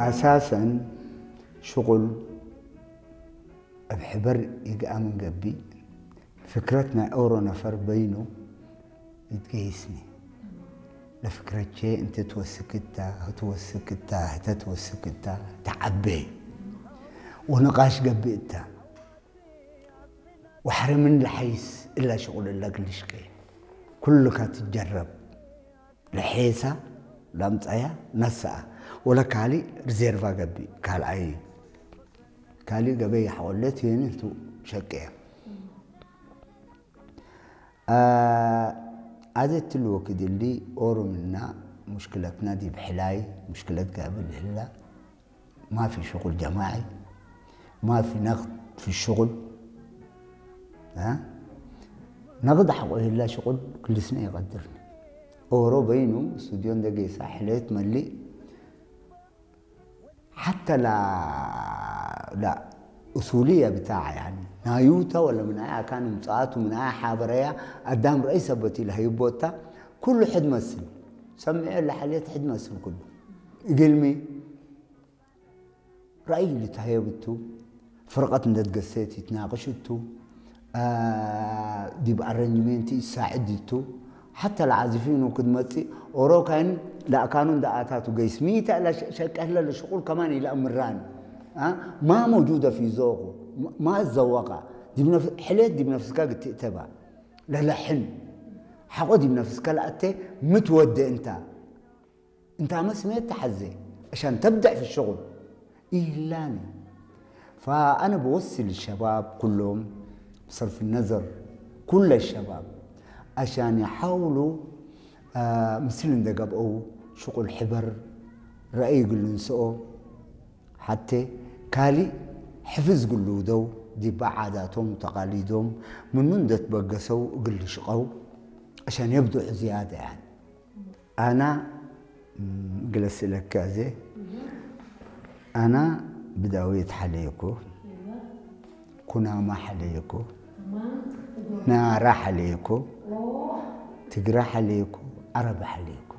ኣሳሰን ሽቑል ኣብ ሕበር ይግኣምን ገቢእ ፍክረት ናይ ኦሮ ነፈር በይኑ ይትገይስኒ። ለፍክረቼ እንተ ትወስክታ፣ ትወስክታ፣ ተትወስክታ፣ ተዓቤ ወንቓሽ ገቢእታ። ወሕረ ምን ለሐይስ እላ ሽቑል እላ ግልሽቄ። ኩልካ ትጀረብ። ለሐይሳ ላምጻያ ነስኣ። ወለ ካሊ ሪዘርቫ ገቢ ካልኣይ። ካሊ ገበይ ሓቆለት የን እቱ ሸቀያ። ኣዘት ትልወ ክድሊ ኦሮምና ሙሽክለትና ዲብ ሕላይ ሙሽክለት ጋብል ህላ ማፊ ሽቁል ጀማዒ ማፊ ነቅድ ፊ ሽቁል ነቅድ ሓቆ ህላ ሽቁል ክልስና ይቀድርኒ ኦሮ በይኑ ስቱዲዮ እንደጌሳ ሕለት መሊእ حتى لا لا أصولية بتاع يعني نايوتا ولا من أي كان مصات ومن أي حابرية قدام رئيس أبوتي لهي بوتا كل حد مسل سمع لحليت حد مسل كله قلمي رأي اللي تهيبتو فرقة ندد قسيتي تناقشتو ዲብ ኣረንጅሜንቲ ይሳዕድ ይቱ ሓታ ለዓዚፊኑ ክትመጽእ ኦሮካይን ላእካኑ እንዳኣታቱ ገይስ ሚታ ላ ሸቀህለ ለሽቁል ከማን ኢላ ምራን ማ መውጁደ ፊ ዞቁ ማ ዘወቃ ሕሌት ዲብ ነፍስካ ግትእተባ ለለሕን ሓቆ ዲብ ነፍስካ ለኣተ ምትወደ እንታ انت مسميت تحزي عشان تبدع في الشغل إيلاني فأنا بوصي للشباب كلهم بصرف النظر كل الشباب عشان يحاولوا آه مثل ده قبقوا شغل حبر رأي يقول نسقوا حتى كالي حفظ قلودو دي بعاداتهم وتقاليدهم من من ده تبقسوا قل شقوا عشان يبدعوا زيادة يعني ኣና ግለስለካ ዘ ኣና ብዳዊት ሓለየኩ ኩናማ ሓለየኩ ናራ ሓለየኩ ትግራ ሓለየኩ ዓረብ ሓለየኩ